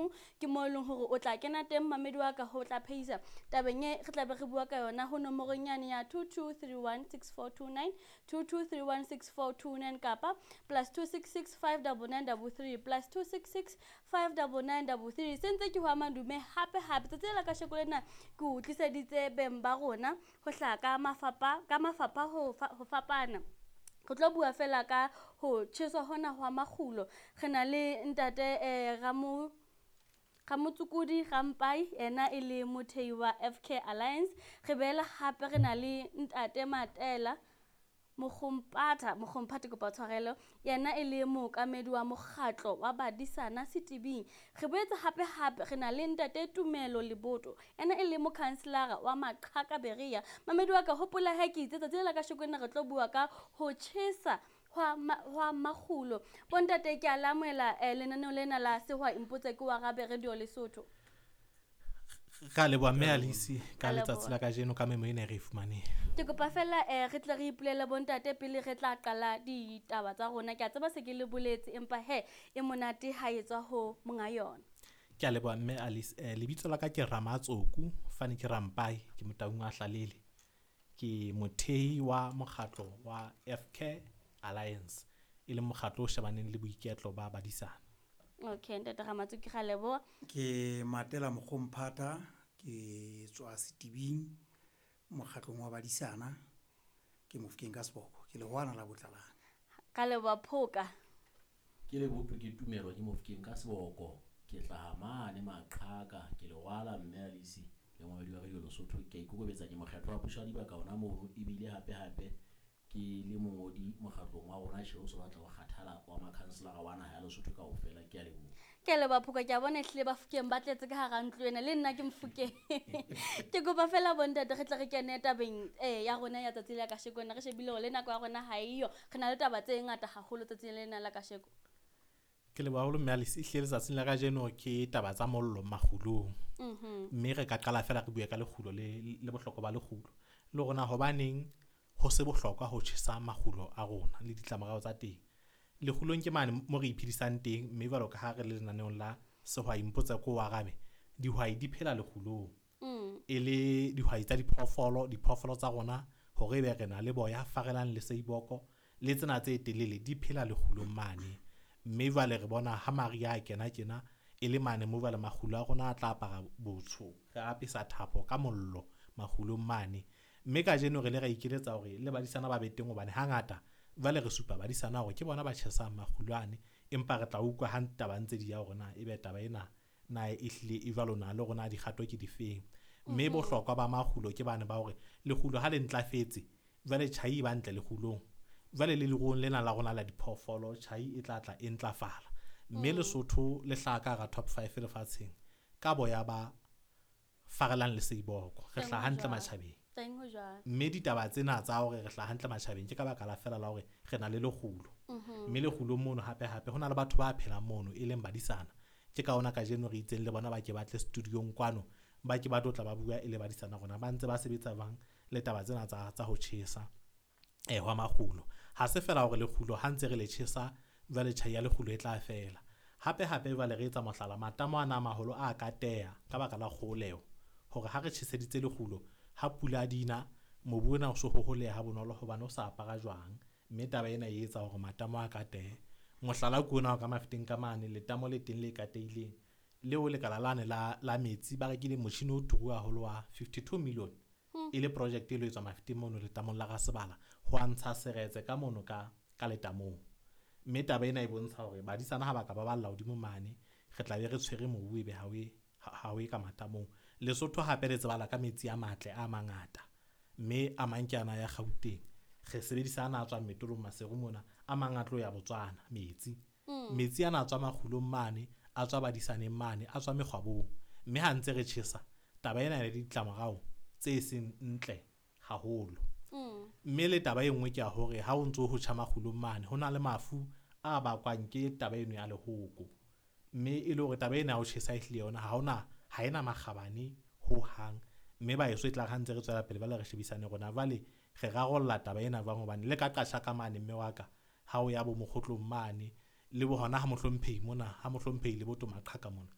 com ke mo e leng hore o tla kena teng mamedi wa ka ho tla phehisa tabeng e re tla be re bua ka yona ho nomorong yane ya 22316429, 22316429 kapa +266 59933, +266 59933. Se ntse ke ho ama dume hape hape tsatsi la kasheko lena ke o tliseditse beng ba rona ho hlaha ka mafapha ka mafapha ho fapana. Re tlo bua fela ka ho tjheswa hona hwa makgulo. Re na le ntate Ramotsokodi Rampai, yena e le mothei wa FK Alliance. Re beela hape re na le ntate Matela Mogompata kopa tshwarelo, yena e le mookamedi wa mokgatlo wa badisana Setibing. Re boetse hape hape re na le ntate Tumelo Leboto, yena e le mokhanselara wa Maqhaka Berea. Mamedi wa ka hopola ha ke itse tsatsi la kasheko lena re tlo bua ka ho tjhesa hwa makgulo. Bontate ke a le amohela lenaneo lena la Sehwai Mpotse ke wa Rabe Radio Lesotho. Ka leboha mme Alice ka letsatsi la kajeno ka memo ena e re e fumaneng. Ke kopa fela re tle re ipolele bontate pele re tla qala ditaba tsa rona. Ke a tseba se ke le boletse empa he e monate ha e tswa ho monga yona. Ke a leboha mme Alice. Lebitso la ka ke Ramatsoku, fane ke Rampai, ke Motaung wa Hlalele. Ke mothehi wa mokgatlo wa FK Alliance, e leng mokgatlo o shebaneng le boiketlo ba badisana. Okay, ntate Ramatsoku ke leboha. Ke Matela Mogompata, ke tswa Setibing mokgatlong wa badisana, ke Mofokeng ka seboko, ke lehwana la Botlalane. Ka leboha Phoka. Ke Leboto ke Tumelo ke Mofokeng ka seboko, ke hlaha mane Maqhaka, ke lehwala mme Alice le momedi wa Radio Lesotho. Ke a ikokobetsa, ke mokgetho wa puso ya dibaka hona mono, ebile hape hape ke le mongodi mokgatlong wa rona tjhe o se batla ho kgathala wa makhanselara wa naha ya Lesotho kaofela. Ke a leboha. Ke a leboha Phoka, ke a bona ehlile Bafokeng ba tletse ka hara ntlo ena, le nna ke Mofokeng. Ke kopa fela bontate re tle re kene tabeng ya rona ya tsatsi la kasheko lena. Re shebile hore le nako ya rona ha eyo, re na le taba tse ngata haholo tsatsing lena la kasheko. Ke leboha haholo mme Alice. Ehlile letsatsing la kajeno ke taba tsa mollo makgulong. Mme re ka qala fela re bue ka lekgulo le bohlokwa ba lekgulo. Le rona hobaneng ho se bohlokwa ho tjhesa makgulo a rona le ditlamorao tsa teng. Lekgulong ke mane mo re iphedisang teng, mme jwalo ka ha re le lenaneong la Sehwai Mpotse ko arabe, dihwai di phela lekgulong. E le dihwai tsa diphoofolo, diphoofolo tsa rona hore ebe re na le boya farelang le seiboko le tsena tse telele di phela lekgulong mane. Mme jwale re bona ha mariha a kena tjena e le mane mo jwale makgulo a rona a tla apara botsho, re apesa thapo ka mollo makgulong mane. Mme kajeno re le ra ikeletsa hore le badisana ba be teng, hobane hangata jwale re supa badisana hore ke bona ba tjhesang makgulo ane, empa re tla utlwa ha taba ntse di ya hore na ebe taba ena na e hlile e jwalo na, le hore na dikgato ke difeng. Mme bohlokwa ba makgulo ke bane ba hore lekgulo ha le ntlafetse jwale tjhai e ba ntle lekgulong, jwale le leruong lena la rona la diphoofolo tjhai e tla tla e ntlafala. Mme Lesotho le hlaha ka hara top 5 lefatsheng ka boya ba farelang le seiboko, re hlaha hantle matjhabeng. Mme ditaba tsena tsa hore re hlaha hantle matjhabeng ke ka baka la fela la hore re na le lekgulo. Mme lekgulong mono hape hape ho na le batho ba phelang mono e leng badisana. Ke ka ona kajeno re itseng le bona ba ke ba tle studiong kwano, ba ke ba tlo tla ba bua e le badisana rona ba ntse ba sebetsa jwang le taba tsena tsa ho tjhesa hwa makgulo. Ha se fela hore lekgulo ha ntse re le tjhesa jwale tjhai ya lekgulo e tla fela. Hape hape jwale re etsa mohlala, matamo ana a maholo a kateha ka baka la kgoholeho, hore ha re tjheseditse lekgulo ha pula dina mobu ona o so hoholeha ha bonolo hobane o sa apara jwang, mme taba ena e etsa hore matamo a katehe. Mohlala ke ona ka Mafeteng ka mane, letamo le teng le katehileng leo lekala lane la metsi ba rekile motjhini o turu haholo wa 52 million e le project e lo etswa Mafeteng mono letamong la Rasebala ho ntsha seretse ka mono ka letamong. Mme taba ena e bontsha hore badisana ha ba ka ba balla hodimo mane, re tla be re tshwere mobu ebe ha o e ka matamong. Lesotho hape le tsebala ka metsi a matle a mangata, mme a mang ke ana ya Gauteng, re sebedisa ana a tswang Metolong Maseru mona, a mang a tlo ya Botswana metsi. Metsi ana a tswa makgulong mane, a tswa badisaneng mane, a tswa mekgwabong. Mme ha ntse re tjhesa, taba ena le ditlamorao tse seng ntle haholo. Mme le taba e nngwe ke ya hore ha o ntso ho tjha makgulong mane, ho na le mafu a bakwang ke taba eno ya lehoko. Mme e le hore taba ena ya ho tjhesa ehlile yona ha ena makgabane ho hang. Mme ba eso e tla ha ntse re tswela pele jwale re shebisane rona jwale re rarolla taba ena jwang, hobane le ka qasha ka mane mme wa ka ha o ya bo mokgotlong mane le bo hona ha mohlomphehi mona, ha mohlomphehi le bo Tomaqhaka mona,